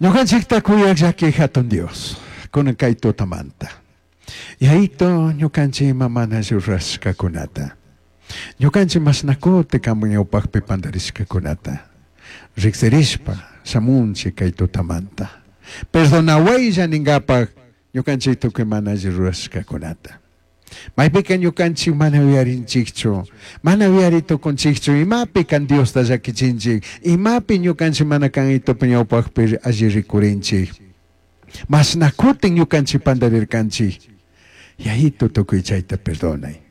Ñukanchikta kuyaq llaki hatun Dios, kunan kay tutamanta. Yayito, ñukanchik ima mana rurashkakunata. Ñukanchik mashnakuti kanpak ñawpakpi pandarishkakunata. Riksirishpa shamunchik kay tutamanta. Perdonawaylla ninkapak ñukanchik tukuy mana alli rurashkakunata. Maypika ñukanchik mana uyarinchikchu, mana uyari tukunchikchu, imapi kan Diosta llakichinchik, imapi ñukanchik mana kan itupi ñawpakpi alli rikurinchik. Mashna kutin ñukanchik pandarirkanchik. Yayito, tukuy chayta perdonay.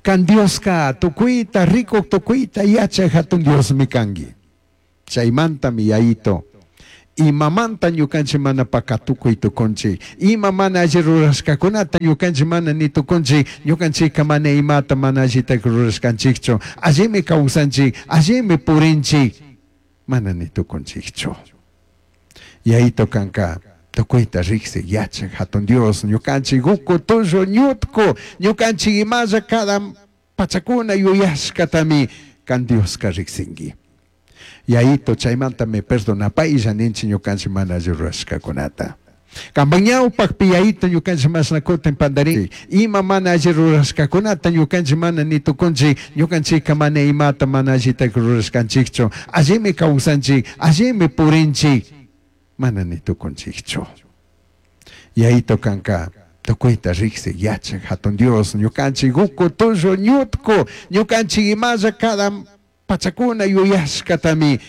Kan Dioska tukuyta rikuk, tukuyta yachak hatun Diosmi kanki. Chaymantami, Yayito, imamanta ñukanchik mana pakatukuy tukunchik, ima mana alli rurashkakunata ñukanchik mana ni tukunchik, ñukanchikka mana imata mana allita rurashkanchikchu, allimi kawsanchik, allimi purinchik, mana ni tukunchikchu. Yayito, kanka tukuyta riksik yachak hatun Dios, ñukanchik uku tullu ñutku, ñukanchik imalla cada pachakuna yuyashkatami kan Dioska riksinki. Yayito, chaymantami perdonapaylla ninchik ñukanchik mana alli rurashkakunata. Kanpak ñawpakpi, Yayito, ñukanchik mashna kutin pandarin, ima mana alli rurashkakunata ñukanchik mana ni tukunchik, ñukanchikka mana imata mana allita rurashkanchikchu, allimi kawsanchik, allimi purinchik, mana ni tukunchikchu. Yayito, kanka tukuyta riksik yachak hatun Dios, ñukanchik uku tullu ñutku, ñukanchik imalla cada pachakuna yuyashkatami